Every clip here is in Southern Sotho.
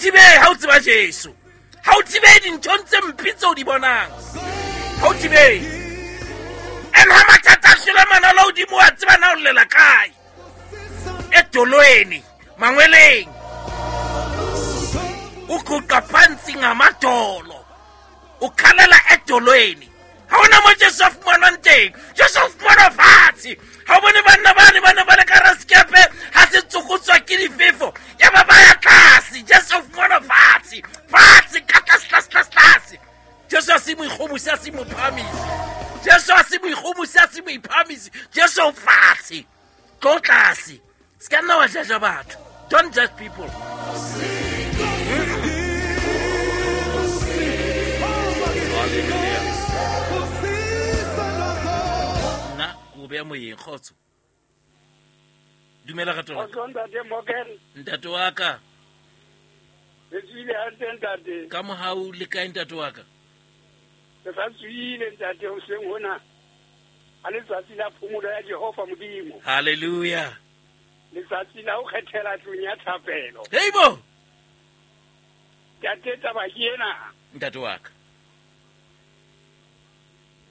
thibehe ha o tseba Jesu. Ha o thibehe dinthong tse mpe tse o di bonang. Ha o thibehe. And ha mathata a hlole manala hodimo wa tseba na o llela kae. Edolweni, mangweleng. Uguqa phansi ngamadolo. Ukhalela edolweni. Ha hona mo Jesu a fumanwang teng. Jesu o fumanwa fatshe. Ha o bone banna bane ba ne ba le ka hara sekepe ha se tsokotswa ke difefo. Ya ba ba ya tlase. Jesu o fumanwa fatshe. Fatshe ka tlase tlase tlase tlase. Jesu a se moikgomosi a se mophahamisi. Jesu a se moikgomosi a se moiphahamisi. Jesu o fatshe. Tlo tlase. Se ka nna wa judge batho. Don't judge people. Hallelujah. Nna ke o beya moyeng kgotso. Dumela rato la ka. Kgotso ntate Morgan. Ntate wa ka. Re tswile hantle ntate. Ka mohau le kae ntate wa ka? Re sa tswile ntate hoseng hona. A letsatsi la phomolo ya Jehova Modimo. Hallelujah. Letsatsi la ho kgethela tlung ya thapelo. Heibo. Ntate taba ke ena. Ntate wa ka.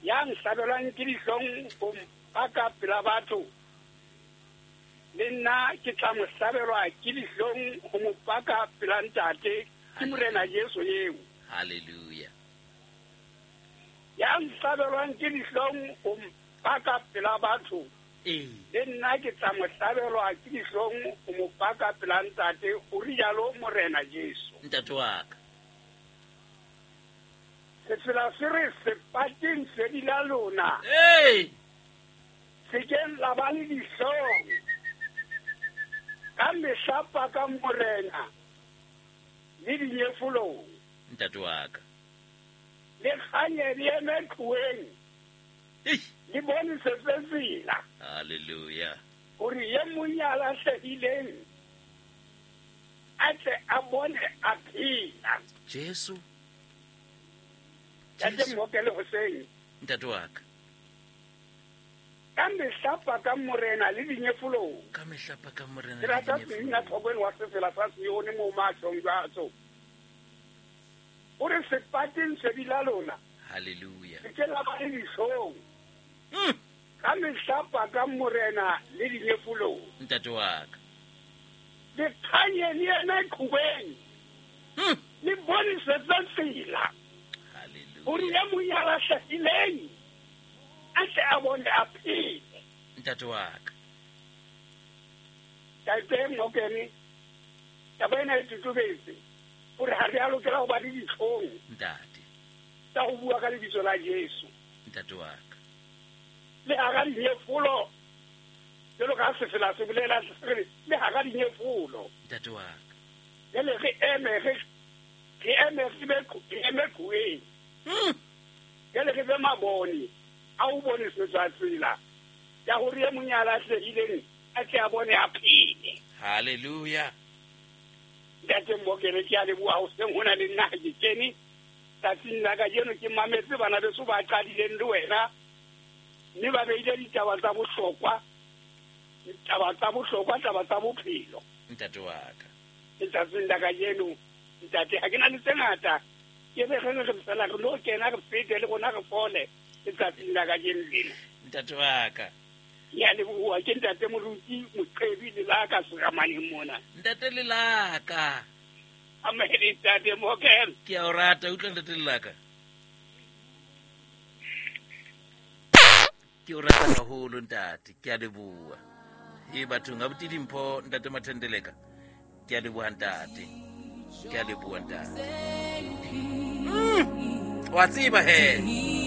Ya nhlabelwang ke dihlong ho mpaka pela batho. Le nna ke tla mo hlabelwa ke dihlong ho mo paka pela ntate ke Morena Jesu eo. Hallelujah. Ya nhlabelwang ke dihlong ho mpaka pela batho. Ee. Le nna ke tla mo hlabelwa ke dihlong ho mo paka pela ntate, o rialo Morena Jesu. Ntate wa ka. Sefela se re sepateng sedi la lona. Ee. Sekeng la ba le dihlong. Ka mehla paka Morena le dinyefolong. Ntate wa ka. Le kganye le eme qhoweng. Le bonesetse tsela. Hallelujah. Hore ye mong ya lahlehileng a tle a bone a phela. Jesu. Ntate Mmokele hoseng. Ntate wa ka. Ka mehla pakang Morena le dinyefolong. Ka mehla pakang Morena le dinyefolong. Ke rata Semina Tlhokweni wa sefela sa Sione mo mahlong jwatso. O re sepateng sedi la lona. Hallelujah. Le ke la ba le dihlong. Ka mehla pakang Morena le dinyefolong. Ntate wa ka. Le kganye le eme qhobeng. Le bonesetse tsela. Hallelujah. Hore ye mong ya lahlehileng a tle a bone a phele. Ntate wa ka. Ntate Mokene, taba ena e totobetse hore ha re a lokela ho ba le dihlong. Ntate. Tsa ho bua ka lebitso la Jesu. Ntate wa ka. Le hara dinyefolo, jwalo ka sefela se bolela, se re, le hara dinyefolo. Ntate wa ka. Jwale re eme, re, re eme, re be, re eme qhoweng. Jwale re be mabone a ho bonesetswa tsela ya hore e mong ya lahlehileng a tle a bone a phele. Hallelujah. Ntate Mmokele, ke a leboha hoseng hona le nna ha ke kene tsatsing la kajeno ke mametse bana beso ba qadileng le wena mme ba beile ditaba tsa bohlokwa, ditaba tsa bohlokwa, taba tsa bophelo. Ntate wa ka. Letsatsing la kajeno, ntate, ha ke na le tse ngata, ke re re re fela re lo kena re fete le rona re fole letsatsing la kajeno lena. Ntate wa ka. Ke a leboha, ke ntate Moruti Moqebi Lelaka Seramaneng mona. Ntate Lelaka. Amen, ntate Morgan. Ke a o rata, utlwa ntate Lelaka. Ke o rata haholo ntate, ke a leboha. E bathong, abuti Dimpho, ntate Mathendeleka. Ke a leboha ntate. Ke a leboha ntate. Wa tseba he.